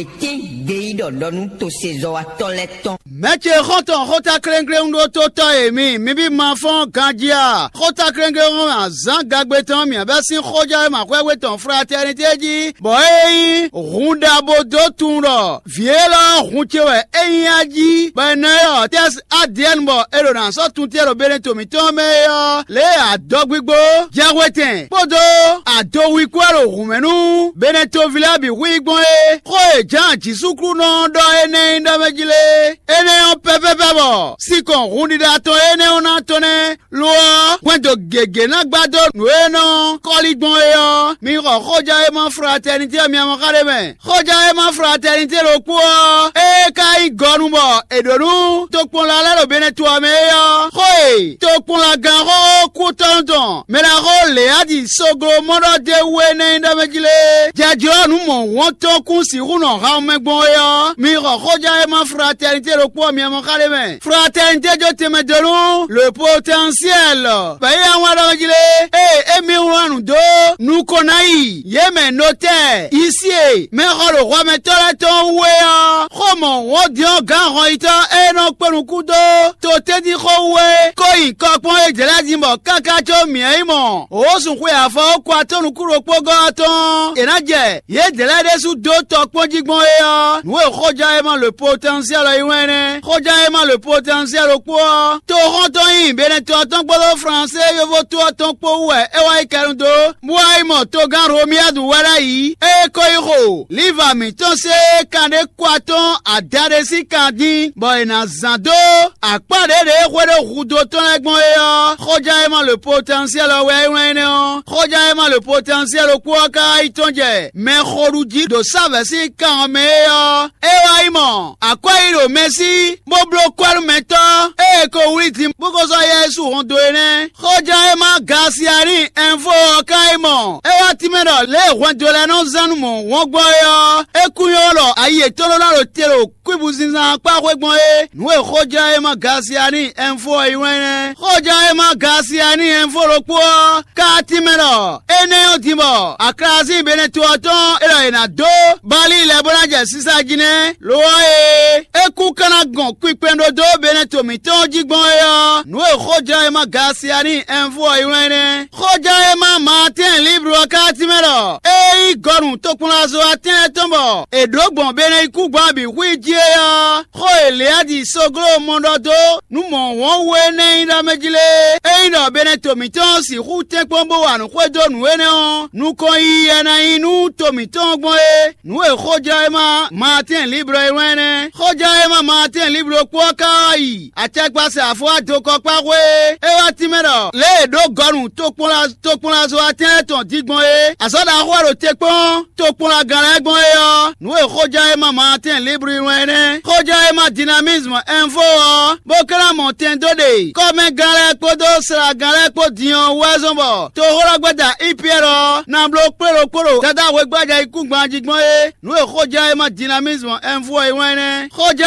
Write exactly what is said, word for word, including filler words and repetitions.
Wětín gbeyíɖɔ ɖɔ nú tosezɔ́watɔ́ lɛ́ɛ tɔn. Mɛ̌ ce xɔ́ntɔn xótákléŋkléŋ ɖó tó tɔ́ e mi, mi bí ma fɔ́n ganjí a? Xótákléŋkléŋ ɔ́, azǎn gagbe tɔn mǐ bɛ́ sín xójɛ́wéma xwɛ́xwé tɔn Fratɛnitée jí, bɔ é nyí hun ɖaxó dó tunwun ɖɔ vǐ élɔ́ ɔ́ hun ce wɛ é nyí a jí, bɔ è nɔ ylɔ́ Tɛ́si Adiyɛ́ni bɔ è ɖo nǎ sɔ́ tun ce ɖo Beneto mǐtɔn mɛ é ɔ́, lě e adɔgbígbó, jɛhwetɛn kpódó adowi kú wɛ ɖo hǔnmɛ nú Beneto ví lɛ́ɛ bǐ hu i gbɔn é. Xó e Jǎan Jǐsúklúnɔ ɔ́ ɖɔ énɛ́ nyí ɖɔ mɛ jí lé? Énɛ́ ɔ́ pɛ́pɛ́pɛ́ bɔ sinkɔn hunɖiɖa tɔn énɛ́ ɔ́ ná tɔ́n nɛ́. Lo ɔ́, hwɛndo gěgé ná gbá dó nǔ e nɔ kɔ́lí gbɔn é ɔ́, mi xɔ xójɛ́wéma Fratɛnitée ɔ́ mi amɔ xá ɖé mɛ. Xójɛ́wéma Fratɛnitée ɖokpó ɔ́, ée ka nyí gɔnu bɔ è ɖǒ nú tokpɔnla lɛ́ɛ ɖo Benɛto ɔ́ mɛ é ɔ́, xó e tokpɔnlagán xóxó kútɔ́nú tɔn mɛɖaxó Leyadi Soglomɔ́ɖɔ d'é wú é nɛ́ nyí ɖɔ mɛ jí lé? Jɛjlɔ́ nǔ mɔ̌hunkɔtɔn kún sixú nɔ han mɛ gbɔn é ɔ́, mi xɔ xójɛ́wéma Fratɛnitée ɖokpó ɔ́ mi amɔ xá ɖé mɛ. Fratɛnitée jó tɛnmɛ dó nú le potɛnsiɛl, bɔ é yá wlán ɖɔ mɛ jí lé? Ée émí wlán nǔ dó nukɔn ná yi yě mɛ notɛ́ɛ, yisí e mɛxɔlǒhwamɛtɔ́ lɛ́ɛ tɔn wú é ɔ́, xó mɔ̌hunkɔtɔn gǎn hɔnyitɔ́ e nɔ kpé nukún dó to tɛ́ntin xó wú é, ko nyi kɔ kpɔ́n édɛɛ lɛ́ɛ din bɔ káká có mǐ yi mɔ wǒsun xwe afɔ ɔ́ kɔ atɔ́ nukún ɖokpó gɔ́ ɔ́ tɔn, è nǎ jɛ yědɛɛ lɛ́ɛ ɖésú dó tɔ kpɔ́n jí gbɔn é ɔ́, nǔ e xójɛ́wéma le potɛnsiɛl ɔ́ yí wɛn nɛ́. Xójɛ́wéma le potɛnsiɛl ɖokpó ɔ́, toxɔ́ntɔn nyi Benɛto ɔ́ tɔn kpódó Flansée yovo to ɔ́ tɔn kpó wú wɛ é wá yi kɛnu dó, bó wá yi mɔ togán Romiyadu wɛ ɖ'ayǐ. Ée ko yi xo liva mǐtɔn se kanɖé kɔ atɔn adaɖé sín kan dín, bɔ è nǎ zán dó akpá ɖěɖě e xwedó hudó tɔn lɛ́ɛ gbɔn é ɔ́, xójɛ́wéma le potɛnsiɛl ɔ́ wɛ é wlán énɛ́ ɔ́. Xójɛ́wéma le potɛnsiɛl ɖokpó ɔ́ ka yi tɔ́n jɛ mɛxoɖují ɖo sávɛ̌ sín kan ɔ́ mɛ é ɔ́, é wá yi mɔ akwɛ́ yi ɖo mɛ sí, bó bló kwɛ́ nú mɛtɔ́ e è ko wlí din bó ko sɔ́ Yɛsu hɔn dó é nɛ́. Xójɛ́wéma Gasiani Ɛnfo ɔ́ ka yi mɔ é wá tínmɛ ɖɔ lě e hwɛndo lɛ́ɛ nɔ zán nú mɔ̌ wɔn gbɔn é ɔ́, é kún nyɔ́ ɖɔ ayi yětɔn ɖó ná ɖo te ɖo kwíbuzínzán ɔ́ kpá xwé gbɔn é. Nǔ e xójɛ́wéma Gasiani Ɛnfo ɔ́ yi wɛn nɛ́. Xójɛ́wéma Gasiani Ɛnfo ɖokpó ɔ́ ka tínmɛ ɖɔ énɛ́ ɔ́ din bɔ aklazín Benɛto ɔ́ tɔn é ɖɔ è nǎ dó Bali lɛ́ɛ bó ná jɛ sísá jí nɛ́. Lo ɔ́ e é kún ka ná gɔn kpinkpɛn ɖó dó Benɛto mǐtɔn jí gbɔn é ɔ́, nǔ e xójɛ́wéma Gasiani Ɛnfo ɔ́ yi wɛn nɛ́. Xójɛ́wéma Maatɛ́n Liblu ɔ́ ka tínmɛ ɖɔ é nyí gɔnu tokpɔnlazo atɛ́n lɛ́ɛ tɔn bɔ è ɖǒ gbɔn Benɛyíkúngban bǐ xwí jí é ɔ́, xó e Leyadi Sogló mɔ ɖɔ dó nú mɔ̌ wɔn wú énɛ́ nyí ɖɔ mɛ jí lé? Ényí ɖɔ Benɛto mǐtɔn sixú tɛ́nkpɔ́n bó wa nǔ xwedó nǔ énɛ́ ɔ́, nukɔn yiyi wɛ ná nyí nú to mǐtɔn ɔ́ gbɔn é. Nǔ e xójɛ́wéma Maatɛ́n Liblɔ e wlán nɛ́. Xójɛ́wéma Maatɛ́n Liblɔ kpó ɔ́ ka wá yi acɛkpasɛ afɔwá dokɔkpáxwé e é wá tínmɛ ɖɔ lě e è ɖǒ gɔnu tokpɔnla tokpɔnlazo atɛ́nlɛ́ tɔn dín gbɔn é, azɔ̌ ɖaxó wɛ ɖo te kpɔ́n tokpɔnlagán lɛ́ɛ gbɔn é ɔ́, nǔ e xójɛ́wéma Maatɛ́n Liblu wlán nɛ́. Xójɛ́wéma Dinamizmu Ɛnfo ɔ́, bó ka ná mɔ tɛn dó ɖe kɔ́mɛgán lɛ́ɛ kpódó slagán lɛ́ɛ kpó din ɔ́ wú wɛ zɔ́n bɔ toxóɖɔgbɛ́da Ipiyɛ́ri ɔ́ ná bló kplé ɖokpó ɖo Dadá hwegbájɛ yíkúngban jí gbɔn é. Nǔ e xójɛ́wéma Dinamizmu Ɛnfo ɔ́ yi wɛn nɛ́. Xójɛ́